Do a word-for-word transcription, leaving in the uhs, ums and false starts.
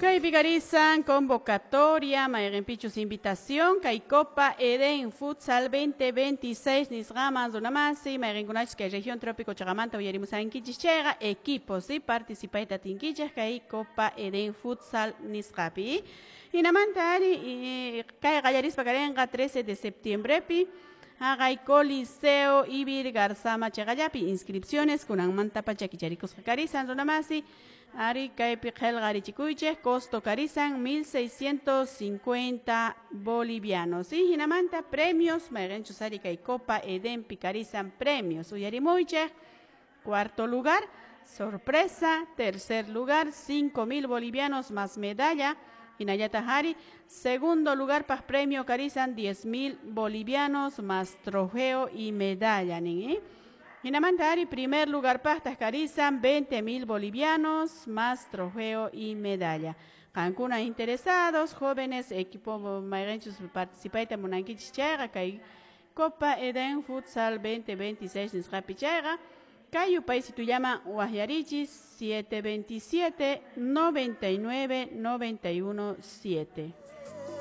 Kaypi karisan convocatoria, mayqinpichus invitación, kay Copa Eden Futsal dos mil veintiséis nisqaman, runamasi, mayqinkunachus kay región trópico chaqamanta uyarimusankichis chayqa, equipos, ¿sí? Participayta atinkichis kay Copa Eden Futsal nisqapi. Hinamanta ari kay qallarispa karinqa trece de septiembrepi haqay Coliseo Ivirgarzama chaqallapi. Inscripciones kunanmanta pacha kicharikusqa karisan, runamasi. Ari kaypi qillqarichikuychik, costo karisan mil seiscientos cincuenta bolivianos. Y hinamanta premios, mayqinchus ari kay Copa Edenpi karisan premios. Uyarimuychik: cuarto lugar, sorpresa; tercer lugar, cinco mil bolivianos más medalla. Hinallataq ari, segundo lugar paq premio karisan diez mil bolivianos más trofeo y medalla nin, ¿eh? Hinamanta ari primer lugar paqtaq karisan veinte mil bolivianos más trofeo y medalla. Qankuna interesados, jóvenes, equipo mayqinchus participayta munankichis chayqa kay Copa Eden Futsal dos mil veintiséis nisqapi chayqa, kay yupaysitullaman waqyarichis: siete veintisiete noventa y nueve noventa y uno siete.